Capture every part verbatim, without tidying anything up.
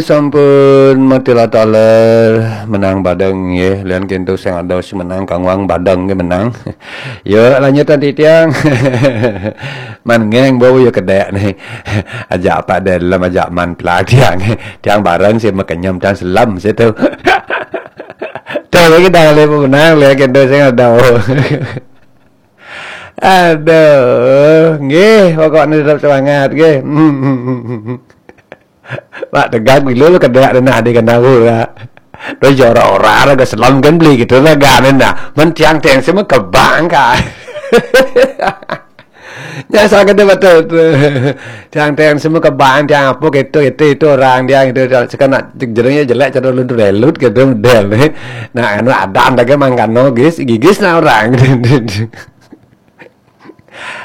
Sampun matila taler menang badeng nggih. Lian kintu sing ada sing menang, Kang Wang badeng nggih menang. Yo, lanjutan titiang. Man ngeng bau yo kedek nih. Ajak apa dalam ajak man pelak tiang. Tiang bareng sih mekenyem tiang selam situ. Tuh lagi dah lepo menang lian kintu sing ada. Aduh, nggih, pokoknya tetap semangat nggih. Pak tegang dulu lu kedek denah di kena gula. Terus jorok orang ada selam kan beli gitu lah ganen dah. Men tiang tiang semua kebang kah. Ya saya kata betul tu. Tiang tiang semua kebang tiang apa gitu itu itu orang dia gitu. Sekarang nak jerungnya jelek cara lu relut gitu model ni. Nah, anu ada anda ke mangkano gis gigis nah orang.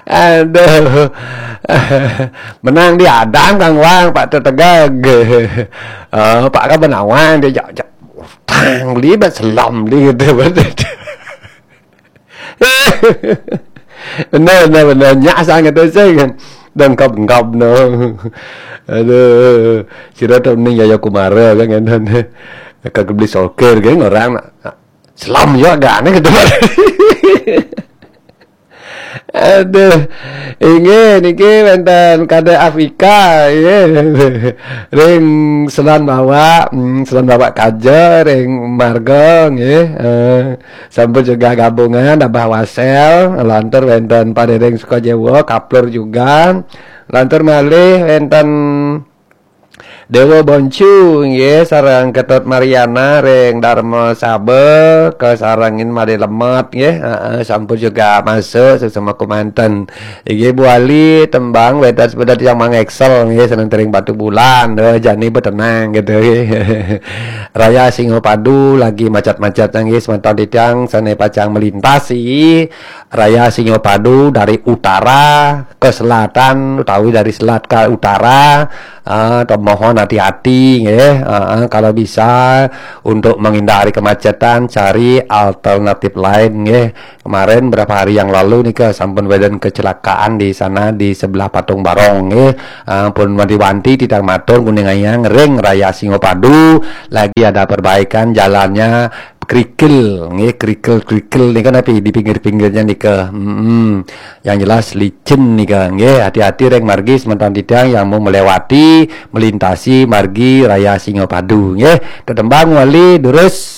Aduh. Menang di Adam Kang Wang, Pak tetegag. Oh, Pak kan benawang dia jak jak tang beli bat selam beli gitu. Benar benar benar nyak sangat tu saya kan. Dan kap kap no. Aduh, sira tu ning Yaya Kumara kan kan. Kagak beli sokir kan orang nak selam juga gak aneh gitu. Aduh. Inggih niki wenten Kadek Afika nggih. Ring Selan Bawak, hmm, Selan Bawak Kaja ring Marga nggih. Eh, sampun juga gabungan Abah Wasel, lantur wenten Pak Dedeng Sukajewa, Kaplur juga. Lantur malih wenten Dewa Boncu nggih sareng Ketut Mariana ring Dharma Saba kasarengin Made Lemet nggih. Heeh, sampun juga masuk sesama kumanten. Inggih Bu Ali tembang wénten sepedet yang mangéksel nggih seneng tering Batu Bulan. Duh, jani betenang gitu nggih. Raya Singapadu lagi macet-macet nggih semeton titiang sané pacang melintasi Raya Singapadu dari utara ke selatan utawi dari selat ke utara, eh, mohon hati-hati nggih. Eh, eh, kalau bisa untuk menghindari kemacetan cari alternatif lain nggih. Kemarin berapa hari yang lalu nih ke sampun wénten kecelakaan di sana di sebelah Patung Barong nggih. Eh, pun wanti-wanti titiang matur nguningayang ring Raya Singapadu lagi ada perbaikan jalannya kerikil nggih, kerikil-kerikil nika napi di pinggir-pinggirnya nika. Mm-mm. Yang jelas licin nika nggih, hati-hati ring margi semeton titiang yang mau melewati melintasi margi Raya Singapadu nggih. Tetembang wali durus